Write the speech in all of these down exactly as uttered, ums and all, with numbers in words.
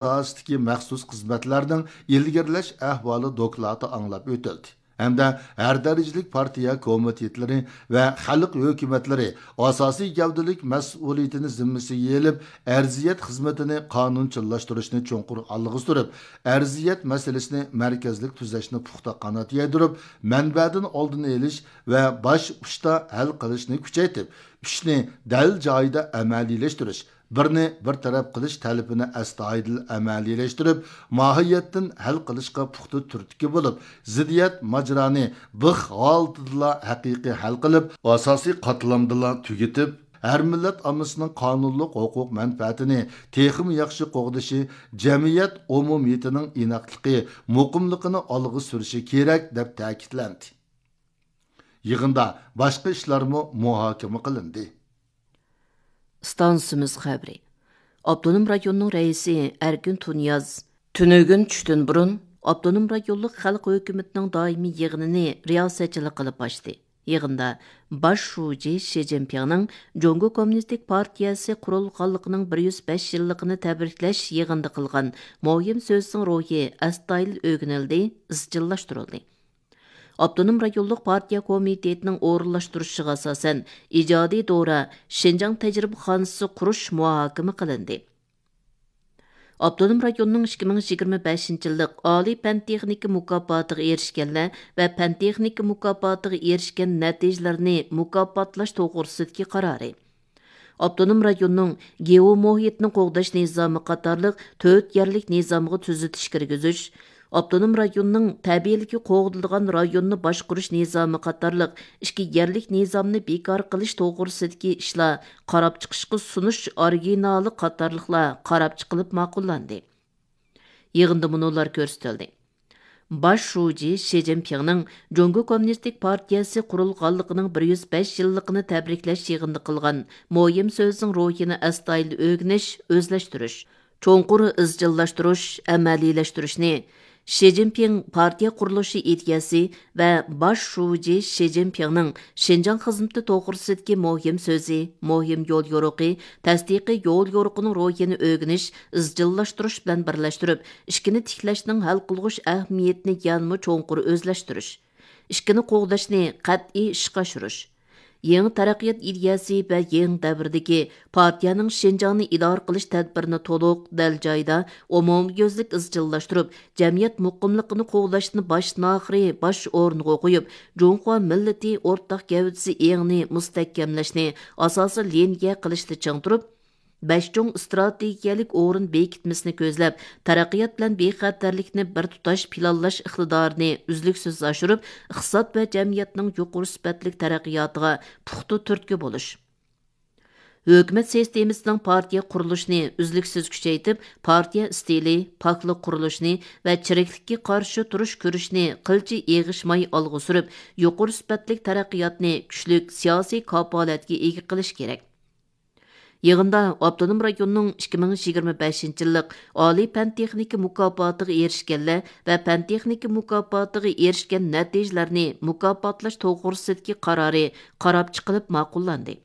ئاساسىدىكى مەخسۇس خىزمەتلەرنىڭ ئىلگىرىلەش ئەھۋالى دوكلاتى ئاڭلاپ ئۆتۈلدى ھەمدە ھەر دەرىجىلىك پارتىيە كومىتېتلىرى ۋە خەلق ھۆكۈمەتلىرى ئاساسىي گەۋدىلىك مەسئۇلىيىتىنى زىممىسىگە ئېلىپ، ئەرزىيەت خىزمىتىنى قانۇنچىللاشتۇرۇشنى چوڭقۇر ئالغا سۈرۈپ، ئەرزىيەت مەسىلىسىنى مەركەزلىك تۈزەشنى پۇختا قانات يايدۇرۇپ، مەنبەدىن ئالدىنى ئېلىش ۋە باش ئۇچتا ھەل قىلىشنى كۈچەيتىپ، ئۈچنى دەل جايىدا ئەمەلىيلەشتۈرۈش، بىرنى بىر تەرەپ قىلىش تەلىپىنى ئەستايىدىل ئەمەلىيلەشتۈرۈپ، ماھىيەتتىن ھەل قىلىشقا پۇختا تۈرتكە بولۇپ، زىددىيەت ماجىرانى بىخ ھالىتىدىلا ھەقىقىي ھەل قىلىپ، ئاساسىي قاتلامدىلا تۈگىتىپ، ھەر مىللەت ئاممىسىنىڭ قانۇنلۇق ھوقۇق مەنپەئەتىنى تېخىمۇ ياخشى قوغدىشى، جەمئىيەت ئومۇمىيىتىنىڭ ئىناقلىقى، مۇقىملىقىنى ئالغا سۈرۈشى كېرەك، دەپ تەكىتلەندى. يىغىندا باشقا ئىشلارمۇ مۇھاكىمە قىلىندى. ئىستانسىمىز خەۋىرى. ئاپتونوم رايوننىڭ رەئىسى ئەركىن تۇنىياز تۈنۈگۈن چۈشتىن بۇرۇن ئاپتونوم رايونلۇق خەلق ھۆكۈمىتىنىڭ دائىمىي يىغىنىنى رىياسەتچىلىك قىلىپ ئاچتى. يىغىندا باش شۇجى شى جىنپىڭنىڭ جۇڭگو كوممۇنىستىك پارتىيەسى قۇرۇلغانلىقىنىڭ بىر يۈز بەش يىللىقىنى تەبرىكلەش يىغىنىدا قىلغان مۇھىم سۆزىنىڭ روھى ئەستايىدىل ئۆگىنىلدى، ئىزچىللاشتۇرۇلدى. ئاپتونوم رايونلۇق پارتىيە كومىتېتىنىڭ ئورۇنلاشتۇرۇشىغا ئاساسەن، ئىجادىي دورا شىنجاڭ تەجرىبىخانىسى قۇرۇش مۇھاكىمە قىلىندى. ئاپتونوم رايوننىڭ ئىككى مىڭ يىگىرمە بەشىنچى يىللىق ئالىي پەن تېخنىكا مۇكاپاتىغا ئېرىشكەنلەر ۋە پەن تېخنىكا مۇكاپاتىغا ئېرىشكەن نەتىجىلەرنى مۇكاپاتلاش توغرىسىدىكى قارارى. ئاپتونوم رايوننىڭ گېئو مۇھىتنى قوغداش نىزامى قاتارلىق تۆت يەرلىك نىزامغا تۈزىتىش كىرگۈزۈش، ئاپتونوم رايوننىڭ تەبىئىيلىكى قوغدىلىدىغان رايوننى باشقۇرۇش نىزامى قاتارلىق ئىككى يەرلىك نىزامنى بىكار قىلىش توغرىسىدىكى ئىشلار قاراپ چىقىشقا سۇنۇش ئورىگىنالى قاتارلىقلار قاراپ چىقىلىپ ماقۇللاندى. يىغىندا مۇنۇلار كۆرسىتىلدى. باش شۇجى شى جىنپىڭنىڭ جۇڭگو كوممۇنىستىك پارتىيەسى قۇرۇلغانلىقىنىڭ بىر يۈز بەش يىللىقىنى تەبرىكلەش يىغىنىدا قىلغان مۇھىم سۆزىنىڭ روھىنى ئەستايىدىل ئۆگىنىش، ئۆزلەشتۈرۈش، چوڭقۇر ئىزچىللاشتۇرۇش، ئەمەلىيلەشتۈرۈشنى، شى جىنپىڭ پارتىيە قۇرۇلۇشى ئىدىيەسى ۋە باش شۇجى شى جىنپىڭنىڭ شىنجاڭ خىزمىتى توغرىسىدىكى مۇھىم سۆزى، مۇھىم يول يورۇقى، تەستىقىي يول يورۇقىنىڭ روھىنى ئۆگىنىش، ئىزچىللاشتۇرۇش بىلەن بىرلەشتۈرۈپ، ئىككىنى تىكلەشنىڭ ھەل قىلغۇچ ئەھمىيىتىنى يەنىمۇ چوڭقۇر ئۆزلەشتۈرۈش، ئىككىنى قوغداشنى قەتئىي ئىشقا ئاشۇرۇش، يېڭى تەرەققىيات ئىدىيەسى ۋە يېڭى دەۋردىكى پارتىيەنىڭ شىنجاڭنى ئىدارە قىلىش تەدبىرىنى تولۇق، دەل جايىدا، ئومۇميۈزلۈك ئىزچىللاشتۇرۇپ، جەمئىيەت مۇقىملىقىنى قوغداشنى باشتىن ئاخىرى باش ئورۇنغا قويۇپ، جۇڭخۇا مىللىتى ئورتاق گەۋدىسى ئېڭىنى مۇستەھكەملەشنى ئاساسىي لىنىيە قىلىشتا چىڭ تۇرۇپ، بەش چوڭ ئىستراتېگىيەلىك ئورۇن بېكىتمىسىنى كۆزلەپ، تەرەققىيات بىلەن بىخەتەرلىكنى بىر تۇتاش پىلانلاش ئىقتىدارىنى ئۈزلۈكسىز ئاشۇرۇپ، ئىقتىساد ۋە جەمئىيەتنىڭ يۇقىرى سۈپەتلىك تەرەققىياتىغا پۇختا تۈرتكە بولۇش. ھۆكۈمەت سىستېمىسىنىڭ پارتىيە قۇرۇلۇشىنى ئۈزلۈكسىز كۈچەيتىپ، پارتىيە ئىستىلى، پاكلىق قۇرۇلۇشىنى ۋە چىرىكلىككە قارشى تۇرۇش كۈرىشىنى قىلچە ئېغىشماي ئالغا سۈرۈپ، يۇقىرى سۈپەتلىك تەرەققىياتنى كۈچلۈك سىياسىي كاپالەتكە ئىگە قىلىش كېرەك. يىغىندا ئاپتونوم رايوننىڭ ئىككى مىڭ يىگىرمە بەشىنچى يىللىق ئالىي پەن تېخنىكا مۇكاپاتىغا ئېرىشكەنلەر ۋە پەن تېخنىكا مۇكاپاتىغا ئېرىشكەن نەتىجىلەرنى مۇكاپاتلاش توغرىسىدىكى قارارى قاراپ چىقىلىپ ماقۇللاندى.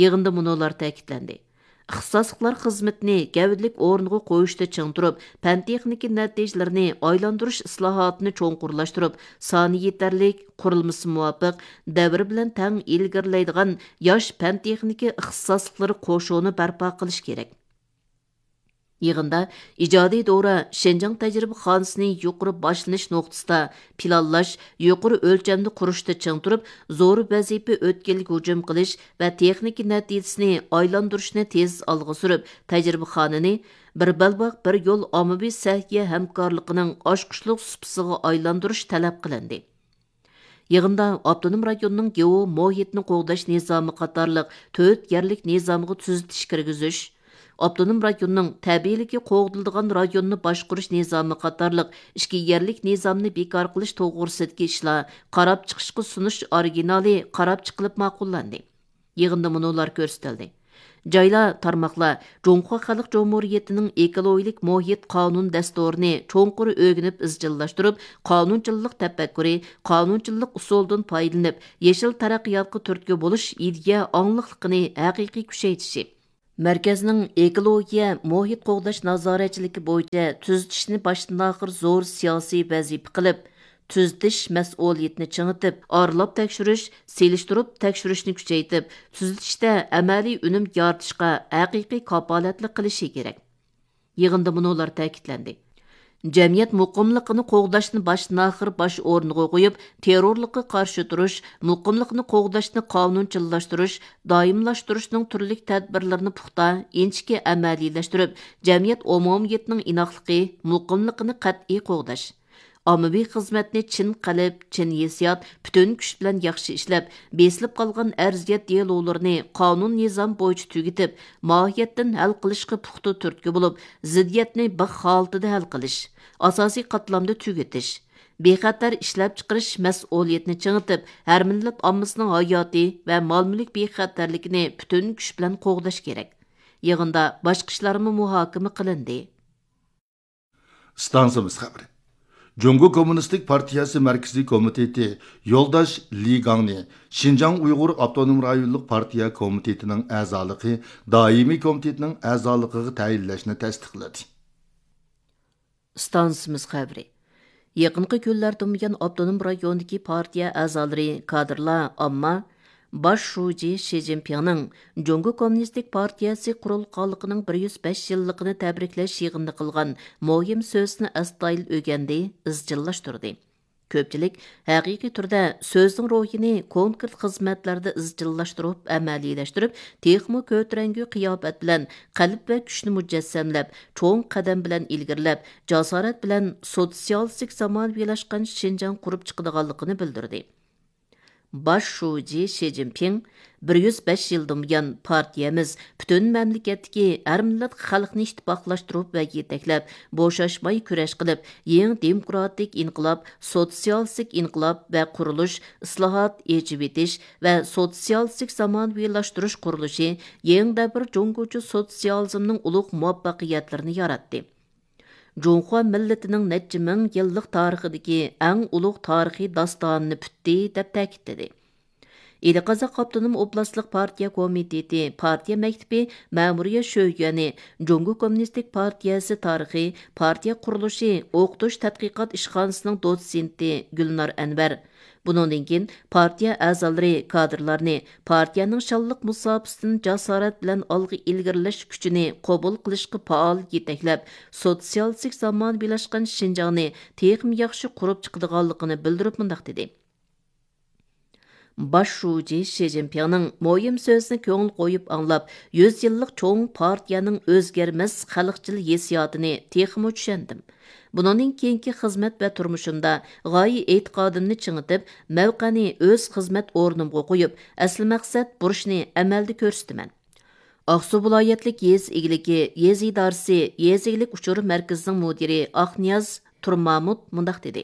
يىغىندا مۇنۇلار تەكىتلەندى. ئىختىساسلىقلار خىزمىتىنى گەۋدىلىك ئورۇنغا قويۇشتا چىڭ تۇرۇپ، پەن تېخنىكا نەتىجىلىرىنى ئايلاندۇرۇش ئىسلاھاتىنى چوڭقۇرلاشتۇرۇپ، سانى يېتەرلىك، قۇرۇلمىسى مۇۋاپىق، دەۋر بىلەن تەڭ ئىلگىرىلەيدىغان ياش پەن تېخنىكا ئىختىساسلىقلىرى قوشۇنى بەرپا قىلىش كېرەك. يىغىندا ئىجادىي دورا شىنجاڭ تەجرىبىخانىسىنى يۇقىرى باشلىنىش نۇقتىسىدا پىلانلاش، يۇقىرى ئۆلچەمدە قۇرۇشتا چىڭ تۇرۇپ، زور ۋەزىپە ئۆتكىلىگە ھۇجۇم قىلىش ۋە تېخنىكا نەتىجىسىنى ئايلاندۇرۇشنى تېز ئالغا سۈرۈپ، تەجرىبىخانىنى بىر بەلباغ، بىر يول ئاممىۋى سەھىيە ھەمكارلىقىنىڭ ئاچقۇچلۇق سۇپىسىغا ئايلاندۇرۇش تەلەپ قىلىندى. يىغىندا ئاپتونوم رايوننىڭ گېئو مۇھىتنى قوغداش نىزامى قاتارلىق تۆت يەرلىك نىزامغا تۈزىتىش كىرگۈزۈش، ئاپتونوم رايوننىڭ تەبىئىيلىكى قوغدىلىدىغان رايوننى باشقۇرۇش نىزامى قاتارلىق ئىككى يەرلىك نىزامنى بىكار قىلىش توغرىسىدىكى ئىشلار قاراپ چىقىشقا سۇنۇش ئورىگىنالى قاراپ چىقىلىپ ماقۇللاندى. يىغىندا مۇنۇلار كۆرسىتىلدى. جايلار، تارماقلار جۇڭخۇا خەلق جۇمھۇرىيىتىنىڭ ئېكولوگىيىلىك مۇھىت قانۇن دەستۇرىنى چوڭقۇر ئۆگىنىپ ئىزچىللاشتۇرۇپ، قانۇنچىللىق تەپەككۇرى، قانۇنچىللىق ئۇسۇلىدىن پايدىلىنىپ، يېشىل تەرەققىياتقا تۈرتكە بولۇش ئىدىيە ئاڭلىقلىقىنى ھەقىقىي كۈچەيتىشى، مەركەزنىڭ ئېكولوگىيە، مۇھىت قوغداش نازارەتچىلىكى بويىچە تۈزىتىشنى باشتىن-ئاخىر زور سىياسىي ۋەزىپە قىلىپ، تۈزىتىش مەسئۇلىيىتىنى چىڭىتىپ، ئارىلاپ تەكشۈرۈش، سېلىشتۇرۇپ تەكشۈرۈشنى كۈچەيتىپ، تۈزىتىشتە ئەمەلىي ئۈنۈم يارىتىشقا ھەقىقىي كاپالەتلىك قىلىشى كېرەك. يىغىندا مۇنۇلار تەكىتلەندى: جەمئىيەت مۇقىملىقىنى قوغداشنى باشتىن-ئاخىر باش ئورۇنغا قويۇپ، تېررورلۇققا قارشى تۇرۇش، مۇقىملىقنى قوغداشنى قانۇنچىللاشتۇرۇش، دائىملاشتۇرۇشنىڭ تۈرلۈك تەدبىرلىرىنى پۇختا، ئىنچىكە ئەمەلىيلەشتۈرۈپ، جەمئىيەت ئومۇمىيىتىنىڭ ئىناقلىقى، مۇقىملىقىنى قەتئىي قوغداش، ئاممىۋى خىزمەتنى چىن قەلب، چىن ھېسسىيات، پۈتۈن كۈچ بىلەن ياخشى ئىشلەپ، بېسىلىپ قالغان ئەرزىيەت دېلولىرىنى قانۇن-نىزام بويىچە تۈگىتىپ، ماھىيەتتىن ھەل قىلىشقا پۇختا تۈرتكە بولۇپ، زىددىيەتنى بىخ ھالىتىدە ھەل قىلىش، ئاساسىي قاتلامدا تۈگىتىش، بىخەتەر ئىشلەپچىقىرىش مەسئۇلىيىتىنى چىڭىتىپ، ھەر مىللەت ئاممىسىنىڭ ھاياتى ۋە مال-مۈلۈك بىخەتەرلىكىنى پۈتۈن كۈچ بىلەن قوغداش كېرەك. يىغىندا باشقا ئىشلارمۇ مۇھاكىمە قىلىندى. ئىستانسىمىز خەۋىرى. جۇڭگو كوممۇنىستىك پارتىيەسى مەركىزىي كومىتېتى يولداش لى گاڭنى شىنجاڭ ئۇيغۇر ئاپتونوم رايونلۇق پارتىيە كومىتېتىنىڭ ئەزالىقى، دائىمىي كومىتېتنىڭ ئەزالىقىغا تەيىنلەشنى تەستىقلىدى. ئىستانسىمىز خەۋىرى. يېقىنقى كۈنلەردىن بۇيان ئاپتونوم رايوندىكى پارتىيە ئەزالىرى، كادىرلار، ئامما باش شۇجى شى جىنپىڭنىڭ جۇڭگو كوممۇنىستىك پارتىيەسى قۇرۇلغانلىقىنىڭ بىر يۈز بەش يىللىقىنى تەبرىكلەش يىغىنىدا قىلغان مۇھىم سۆزىنى ئەستايىدىل ئۆگەندى، ئىزچىللاشتۇردى. كۆپچىلىك ھەقىقىي تۈردە سۆزنىڭ روھىنى كونكرېت خىزمەتلەردە ئىزچىللاشتۇرۇپ، ئەمەلىيلەشتۈرۈپ، تېخىمۇ كۆتۈرەڭگۈ قىياپەت بىلەن قەلب ۋە كۈچنى مۇجەسسەملەپ، چوڭ قەدەم بىلەن ئىلگىرىلەپ، جاسارەت بىلەن سوتسىيالىستىك زامانىۋىلاشقان شىنجاڭ قۇرۇپ چىقىدىغانلىقىنى بىلدۈردى. باش شۇجى شى جىنپىڭ، بىر يۈز بەش يىلدىن بۇيان پارتىيەمىز پۈتۈن مەملىكەتتىكى ھەر مىللەت خەلقنى ئىتتىپاقلاشتۇرۇپ ۋە يېتەكلەپ، بوشاشماي كۈرەش قىلىپ، يېڭى دېموكراتىك ئىنقىلاب، سوتسىيالىستىك ئىنقىلاب ۋە قۇرۇلۇش، ئىسلاھات، ئېچىۋېتىش ۋە سوتسىيالىستىك زامانىۋىلاشتۇرۇش قۇرۇلۇشى يېڭى دەۋر جۇڭگوچە سوتسىيالىزمنىڭ ئۇلۇغ مۇۋەپپەقىيەتلىرىنى ياراتتى. جۇڭخۇا مىللىتىنىڭ نەچچە مىڭ يىللىق تارىخىدىكى ئەڭ ئۇلۇغ تارىخىي داستانىنى پۈتتى، دەپ تەكىتلىدى. ئىلى قازاق ئاپتونوم ئوبلاستلىق پارتىيە كومىتېتى، پارتىيە مەكتىپى مەمۇرىيەت شۆيۈەنى، جۇڭگو كوممۇنىستىك پارتىيەسى تارىخى، پارتىيە قۇرۇلۇشى ئوقۇتۇش تەتقىقات ئىشخانىسىنىڭ دوتسېنتى گۈلنار ئەنۋەر، بۇنىڭدىن كېيىن پارتىيە ئەزالىرى، كادىرلارنى پارتىيەنىڭ شانلىق مۇساپىسىدىن جاسارەت بىلەن ئالغا ئىلگىرىلەش كۈچىنى قوبۇل قىلىشقا پائال يېتەكلەپ، سوتسىيالىستىك زامانىۋىلاشقان شىنجاڭنى تېخىمۇ ياخشى قۇرۇپ چىقىدىغانلىقىنى بىلدۈرۈپ مۇنداق دېدى: باش شۇجى شى جىنپىڭنىڭ مۇھىم سۆزىنى كۆڭۈل قويۇپ ئاڭلاپ، يۈز يىللىق چوڭ پارتىيەنىڭ ئۆزگەرمەس خەلقچىل ھېسسىياتىنى تېخىمۇ چۈشەندىم. بۇنىڭدىن كېيىنكى خىزمەت ۋە تۇرمۇشۇمدا غايە ئېتىقادىمنى چىڭىتىپ، مەۋقەنى، ئۆز خىزمەت ئورنۇمغا قويۇپ، ئەسلى مەقسەت بۇرچنى ئەمەلدە كۆرسىتىمەن. ئاقسۇ ۋىلايەتلىك يېزا ئىگىلىكى، يېزا ئىدارىسى، يېزا ئىگىلىك ئۇچۇر مەركىزىنىڭ مۇدىرى ئاقنىياز تۇرمامۇت مۇنداق دېدى: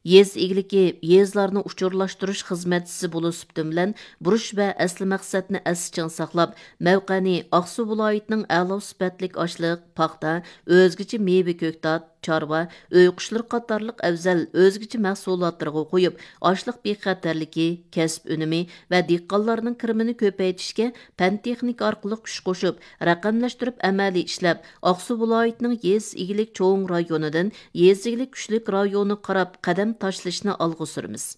يېزا ئىگىلىكى، يېزىلارنى ئۇچۇرلاشتۇرۇش خىزمەتچىسى بولۇش سۈپىتىم بىلەن، بۇرچ ۋە ئەسلى مەقسەتنى ئەستە چىڭ ساقلاپ، مەۋقەنى ئاقسۇ ۋىلايىتىنىڭ ئەلا سۈپەتلىك ئاشلىق، پاختا، ئۆزگىچە مېۋە، كۆكتات، چارۋا، ئۆي قۇشلىرى قاتارلىق ئەۋزەل ئۆزگىچە مەھسۇلاتلىرىغا قويۇپ، ئاشلىق بىخەتەرلىكى، كەسىپ ئۈنۈمى ۋە دېھقانلارنىڭ كىرىمىنى كۆپەيتىشكە پەن-تېخنىكا ئارقىلىق كۈچ قوشۇپ، رەقەملەشتۈرۈپ ئەمەلىي ئىشلەپ، ئاقسۇ ۋىلايىتىنىڭ يېزا ئىگىلىك چوڭ رايونىدىن يېزا ئىگىلىك كۈچلۈك رايونىغا قاراپ قەدەم تاشلىشىنى ئالغا سۈرىمىز.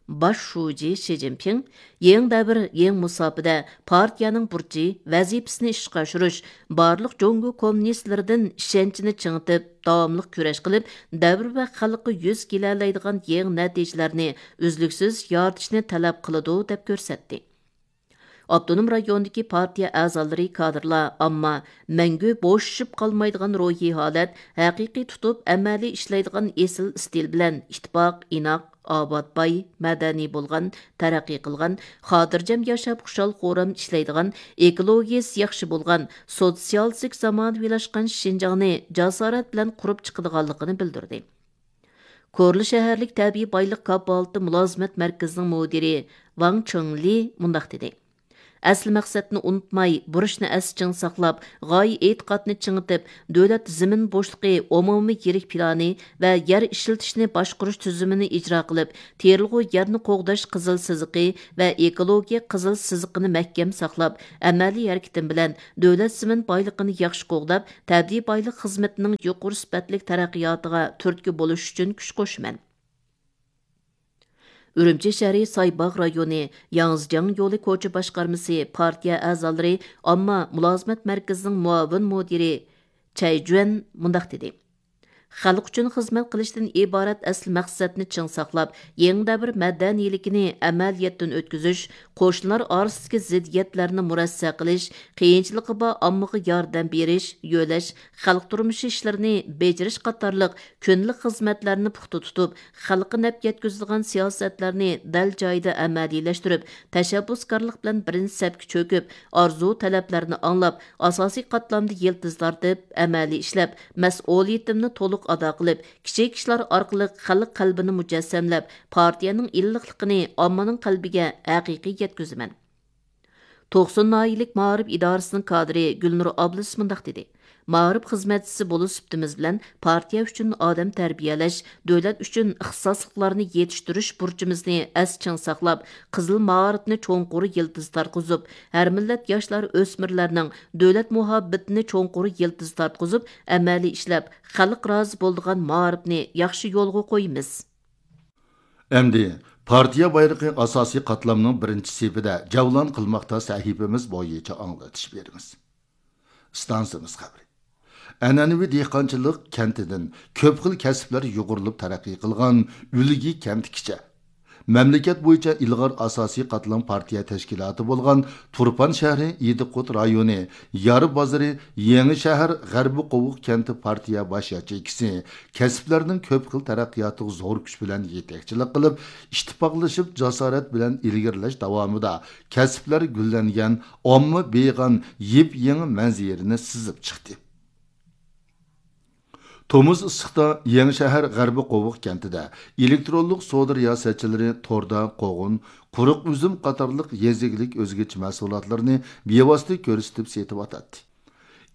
باش شۇجى شى جىنپىڭ يېڭى دەۋر، يېڭى مۇساپىدە پارتىيەنىڭ بۇرچى، ۋەزىپىسىنى ئىشقا ئاشۇرۇش، بارلىق جۇڭگو كوممۇنىستلىرىدىن ئىشەنچىنى چىڭىتىپ، داۋاملىق كۈرەش قىلىپ، دەۋر ۋە خەلققە يۈز كېلەلەيدىغان يېڭى نەتىجىلەرنى ئۈزلۈكسىز يارىتىشنى تەلەپ قىلىدۇ، دەپ كۆرسەتتى. ئاپتونوم رايوندىكى پارتىيە ئەزالىرى، كادىرلار، ئامما مەڭگۈ بوشىشىپ قالمايدىغان روھىي ھالەت، ھەقىقىي تۇتۇپ ئەمەلىي ئىشلەيدىغان ئېسىل ئىستىل بىلەن ئىتتىپاق، ئىناق، ئاۋات، باي، مەدەنىي بولغان، تەرەققىي قىلغان، خاتىرجەم ياشاپ، خۇشال-خۇرام ئىشلەيدىغان، ئېكولوگىيىسى ياخشى بولغان، سوتسىيالىستىك زامانىۋىلاشقان شىنجاڭنى جاسارەت بىلەن قۇرۇپ چىقىدىغانلىقىنى بىلدۈردى. كورلا شەھەرلىك تەبىئىي بايلىق كاپالىتى مۇلازىمەت مەركىزىنىڭ مۇدىرى ۋاڭ چېڭلى مۇنداق دېدى: ئەسلى مەقسەتنى ئۇنتۇماي، بۇرچنى ئەستە چىڭ ساقلاپ، غايە ئېتىقادنى چىڭىتىپ، دۆلەت زېمىن بوشلۇقى ئومۇمىي يىرىك پىلانى ۋە يەر ئىشلىتىشنى باشقۇرۇش تۈزۈمىنى ئىجرا قىلىپ، تېرىلغۇ يەرنى قوغداش قىزىل سىزىقى ۋە ئېكولوگىيە قىزىل سىزىقىنى مەھكەم ساقلاپ، ئەمەلىي ھەرىكىتىم بىلەن دۆلەت زېمىن بايلىقىنى ياخشى قوغداپ، تەبىئىي بايلىق خىزمىتىنىڭ يۇقىرى سۈپەتلىك تەرەققىياتىغا تۈرتكە بولۇش ئۈچۈن كۈچ قوشىمەن. ئۈرۈمچى شەھىرى سايباغ رايونى ياڭزىجياڭ يولى كوچا باشقارمىسى پارتىيە ئەزالىرى ئامما مۇلازىمەت مەركىزىنىڭ مۇئاۋىن مۇدىرى چەي جۈەن مۇنداق دېدى: خەلق ئۈچۈن خىزمەت قىلىشتىن ئىبارەت ئەسلى مەقسەتنى چىڭ ساقلاپ، يېڭى دەۋر مەدەنىيلىكىنى ئەمەلىيەتتىن ئۆتكۈزۈش، قوشنىلار ئارىسىدىكى زىددىيەتلەرنى مۇرەسسە قىلىش، قىيىنچىلىقى بار ئاممىغا ياردەم بېرىش، يۆلەش، خەلق تۇرمۇشى ئىشلىرىنى بېجىرىش قاتارلىق كۈندىلىك خىزمەتلەرنى پۇختا تۇتۇپ، خەلققە نەپ يەتكۈزىدىغان سىياسەتلەرنى دەل جايىدا ئەمەلىيلەشتۈرۈپ، تەشەببۇسكارلىق بىلەن بىرىنچى سەپكە چۆكۈپ، ئارزۇ تەلەپلەرنى ئاڭلاپ، ئاساسىي قاتلامدا يىلتىز تارتىپ، ئەمەلىي ئىشلەپ، مەسئۇلىيىتىمنى تولۇق ئادا قىلىپ، كىچىك ئىشلار ئارقىلىق خەلق قەلبىنى مۇجەسسەملەپ، پارتىيەنىڭ ئىللىقلىقىنى ئاممىنىڭ قەلبىگە ھەقىقىي يەتكۈزىمەن. توقسۇن ناھىيەلىك مائارىپ ئىدارىسىنىڭ كادىرى گۈلنۇر ئابلىز مۇنداق دېدى: مائارىپ خىزمەتچىسى بولۇش سۈپىتىمىز بىلەن پارتىيە ئۈچۈن ئادەم تەربىيەلەش، دۆلەت ئۈچۈن ئىختىساسلىقلارنى يېتىشتۈرۈش بۇرچىمىزنى ئەستە چىڭ ساقلاپ، قىزىل مائارىپنى چوڭقۇر يىلتىز تارتقۇزۇپ، ھەر مىللەت ياشلار، ئۆسمۈرلەرنىڭ دۆلەت مۇھەببىتىنى چوڭقۇر يىلتىز تارتقۇزۇپ، ئەمەلىي ئىشلەپ، خەلق رازى بولىدىغان مائارىپنى ياخشى يولغا قويىمىز. ئەمدى پارتىيە بايرىقى ئاساسىي قاتلامنىڭ بىرىنچى سېپىدە جەۋلان قىلماقتا سەھىپىمىز بويىچە ئاڭلىتىش بېرىمىز. ئىستانسىمىز خەۋىرى. ئەنئەنىۋى دېھقانچىلىق كەنتىدىن كۆپ خىل كەسىپلەر يۇغۇرۇلۇپ تەرەققىي قىلغان ئۈلگە كەنتكىچە، مەملىكەت بويىچە ئىلغار ئاساسىي قاتلام پارتىيە تەشكىلاتى بولغان تۇرپان شەھىرى ئىدىقۇت رايونى يار بازىرى يېڭى شەھەر غەربىي قوۋۇق كەنتى پارتىيە باش ياچېيكىسى كەسىپلەرنىڭ كۆپ خىل تەرەققىياتىغا زور كۈچ بىلەن يېتەكچىلىك قىلىپ، ئىتتىپاقلىشىپ جاسارەت بىلەن ئىلگىرىلەش داۋامىدا كەسىپلەر گۈللەنگەن ئامما بېيىغان يېپيېڭى مەنزىرىنى سىزىپ چىقتى. تومۇز ئىسسىقتا يېڭىشەھەر غەربىي قوۋۇق كەنتىدە ئېلېكترونلۇق سودا رىياسەتچىلىرى توردا قوغۇن، قۇرۇق ئۈزۈم قاتارلىق يېزا ئىگىلىك ئۆزگىچە مەھسۇلاتلىرىنى بىۋاسىتە كۆرسىتىپ سېتىۋاتاتتى.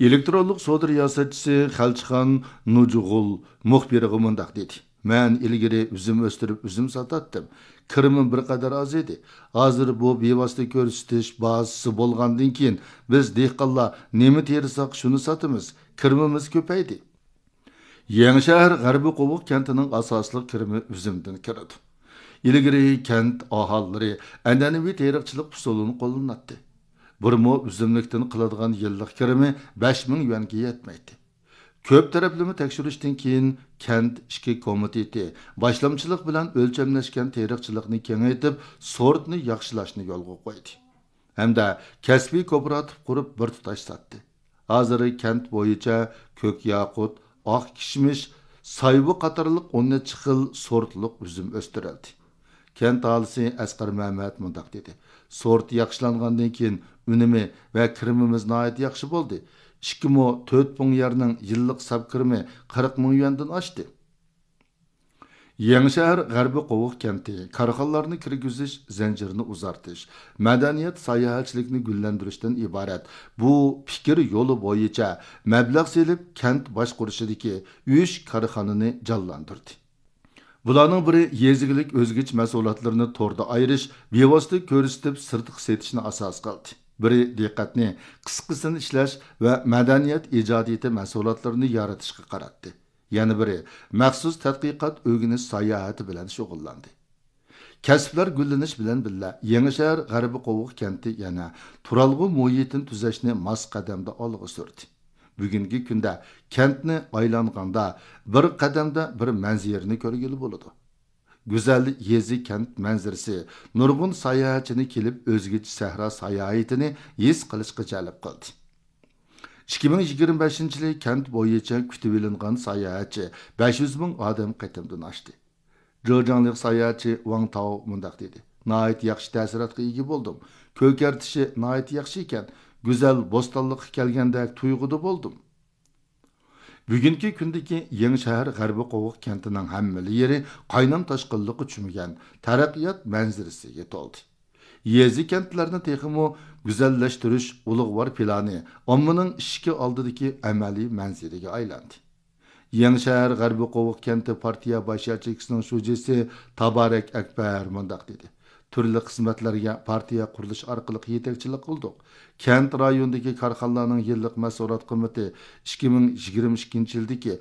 ئېلېكترونلۇق سودا رىياسەتچىسى خەلچىخان نۇجۇغۇل مۇخبىرغا مۇنداق دېدى: مەن ئىلگىرى ئۈزۈم ئۆستۈرۈپ ئۈزۈم ساتاتتىم. كىرىمىم بىر قەدەر ئاز ئىدى. ھازىر بۇ بىۋاسىتە كۆرسىتىش بازىسى بولغاندىن كېيىن، بىز دېھقانلار نېمە تېرىساق، شۇنى ساتىمىز. كىرىمىمىز كۆپەيدى. يېڭىشەھەر غەربىي قوۋۇق كەنتىنىڭ ئاساسلىق كىرىمى ئۈزۈمدىن كېلىدۇ. ئىلگىرى كەنت ئاھالىلىرى ئەنئەنىۋى تېرىقچىلىق ئۇسۇلىنى قوللىناتتى. بىر مو ئۈزۈملۈكتىن قىلىدىغان يىللىق كىرىمى بەش مىڭ يۈەنگە يەتمەيتتى. كۆپ تەرەپلىمە تەكشۈرۈشتىن كېيىن، كەنت ئىچكى كومىتېتى باشلامچىلىق بىلەن ئۆلچەملەشكەن تېرىقچىلىقنى كېڭەيتىپ، سورتنى ياخشىلاشنى يولغا قويدى ھەمدە كەسپىي كوپىراتىپ قۇرۇپ، بىر تۇتاش ساتتى. ھازىر كەنت بويىچە كۆك ياقۇت، ئاق كىشمىش، سايۋا قاتارلىق ئون نەچچە خىل سورتلۇق ئۈزۈم ئۆستۈرۈلدى. كەنت ئاھالىسى ئەسقەر مەمەت مۇنداق دېدى: سورت ياخشىلانغاندىن كېيىن، ئۈنۈمى ۋە كىرىمىمىز ناھايىتى ياخشى بولدى. ئىككى مو تۆت پۇڭ يەرنىڭ يىللىق ساپ كىرىمى قىرىق مىڭ يۈەندىن ئاشتى. يېڭىشەھەر غەربىي قوۋۇق كەنتى كارخانىلارنى كىرگۈزۈش زەنجىرىنى ئۇزارتىش، مەدەنىيەت، ساياھەتچىلىكنى گۈللەندۈرۈشتىن ئىبارەت بۇ پىكىر يولى بويىچە مەبلەغ سېلىپ، كەنت باشقۇرۇشىدىكى ئۈچ كارخانىنى جانلاندۇردى. بۇلارنىڭ بىرى يېزا ئىگىلىك ئۆزگىچە مەھسۇلاتلىرىنى توردا ئايرىش، بىۋاسىتە كۆرسىتىپ سىرتقا سېتىشنى ئاساس قىلدى. بىرى دىققەتنى قىسقىسىنى ئىشلەش ۋە مەدەنىيەت ئىجادىيىتى مەھسۇلاتلىرىنى يارىتىشقا قاراتتى. يەنە بىرى مەخسۇس تەتقىقات، ئۆگىنىش ساياھىتى بىلەن شۇغۇللاندى. كەسىپلەر گۈللىنىش بىلەن بىللە، يېڭىشەھەر غەربىي قوۋۇق كەنتى يەنە تۇرالغۇ مۇھىتىنى تۈزەشنى ماس قەدەمدە ئالغا سۈردى. بۈگۈنكى كۈندە كەنتنى ئايلانغاندا، بىر قەدەمدە بىر مەنزىرىنى كۆرگىلى بولىدۇ. گۈزەل يېزا كەنت مەنزىرىسى نۇرغۇن ساياھەتچىنى كېلىپ ئۆزگىچە سەھرا ساياھىتىنى ھېس قىلىشقا جەلپ قىلدى. ئىككى مىڭ يىگىرمە بەشىنچى يىلى كەنت بويىچە كۈتۈۋېلىنغان ساياھەتچى بەش يۈز مىڭ ئادەم قېتىمدىن ئاشتى. جېجياڭلىق ساياھەتچى ۋاڭ تاۋ مۇنداق دېدى: ناھايىتى ياخشى تەسىراتقا ئىگە بولدۇم. كۆكەرتىشى ناھايىتى ياخشى ئىكەن. گۈزەل بوستانلىققا كەلگەندەك تۇيغۇدا بولدۇم. بۈگۈنكى كۈندىكى يېڭىشەھەر غەربىي قوۋۇق كەنتىنىڭ ھەممىلا يېرى قاينام تاشقىنلىققا چۆمگەن تەرەققىيات مەنزىرىسىگە تولدى. يېزا-كەنتلەرنى تېخىمۇ گۈزەللەشتۈرۈش ئۇلۇغۋار پىلانى ئاممىنىڭ ئىشىكى ئالدىدىكى ئەمەلىي مەنزىرىگە ئايلاندى. يېڭىشەھەر غەربىي قوۋۇق كەنتى پارتىيە باش ياچېيكىسىنىڭ شۇجىسى تابارەك ئەكبەر مۇنداق دېدى: تۈرلۈك خىزمەتلەرگە پارتىيە قۇرۇلۇش ئارقىلىق يېتەكچىلىك قىلدۇق. كەنت رايونىدىكى كارخانىلارنىڭ يىللىق مەھسۇلات قىممىتى ئىككى مىڭ يىگىرمە ئىككىنچى يىلدىكى